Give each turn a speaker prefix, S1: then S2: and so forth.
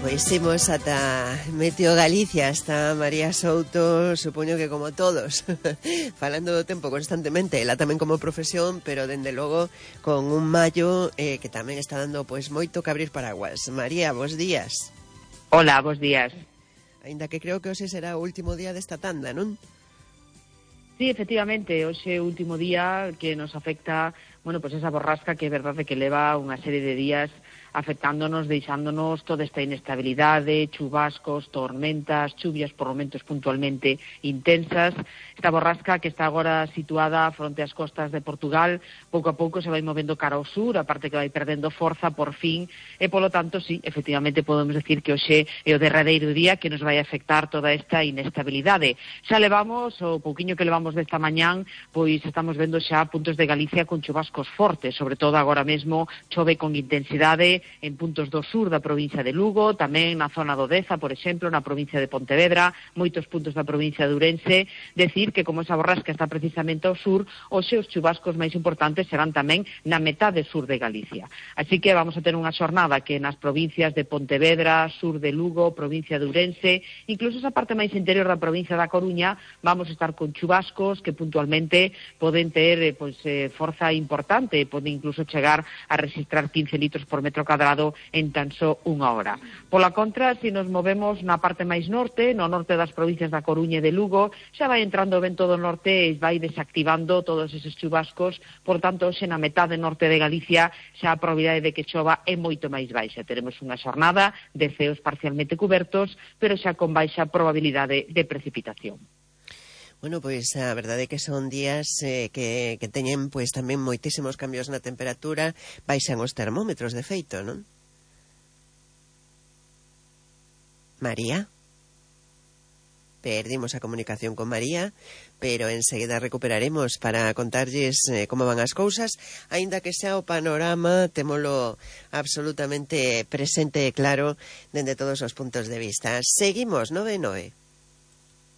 S1: Pois imos ata Meteo Galicia, está María Souto, supoño que como todos, falando do tempo constantemente, ela tamén como profesión, pero dende logo con un maio que tamén está dando pois moito que abrir paraguas. María, bos días.
S2: Hola, bos días.
S1: Aínda que creo que hoxe será o último día desta tanda, non?
S2: Sí, efectivamente, hoxe é o último día que nos afecta, bueno, pues esa borrasca que é verdade que leva unha serie de días afectándonos, deixándonos toda esta inestabilidade, chubascos, tormentas, chuvias por momentos puntualmente intensas. Esta borrasca que está agora situada fronte ás costas de Portugal, pouco a pouco se vai movendo cara ao sur, aparte que vai perdendo forza por fin, e polo tanto, sí, efectivamente podemos decir que hoxe é o derradeiro día que nos vai afectar toda esta inestabilidade. Xa levamos, o pouquiño que levamos desta mañán, pois estamos vendo xa puntos de Galicia con chubascos fortes, sobre todo agora mesmo chove con intensidade en puntos do sur da provincia de Lugo, tamén na zona do Deza, por exemplo, na provincia de Pontevedra, moitos puntos da provincia de Ourense. Decir que como esa borrasca está precisamente ao sur, hoxe os chubascos máis importantes serán tamén na metade sur de Galicia. Así que vamos a ter unha xornada que nas provincias de Pontevedra, sur de Lugo, provincia de Ourense, incluso esa parte máis interior da provincia da Coruña, vamos a estar con chubascos que puntualmente poden ter forza importante, poden incluso chegar a registrar 15 litros por metro cadrado en tan só unha hora. Pola contra, se nos movemos na parte máis norte, no norte das provincias da Coruña e de Lugo, xa vai entrando o vento do norte e vai desactivando todos eses chubascos, por tanto, hoxe na metade norte de Galicia xa a probabilidade de que chova é moito máis baixa. Teremos unha xornada de ceos parcialmente cubertos, pero xa con baixa probabilidade de precipitación.
S1: Bueno, pois a verdade é que son días que teñen pois tamén moitísimos cambios na temperatura, baixan os termómetros de feito, non? María? Perdimos a comunicación con María, pero enseguida recuperaremos para contarlles como van as cousas, aínda que xa o panorama témolo absolutamente presente e claro dende todos os puntos de vista. Seguimos, 9-9.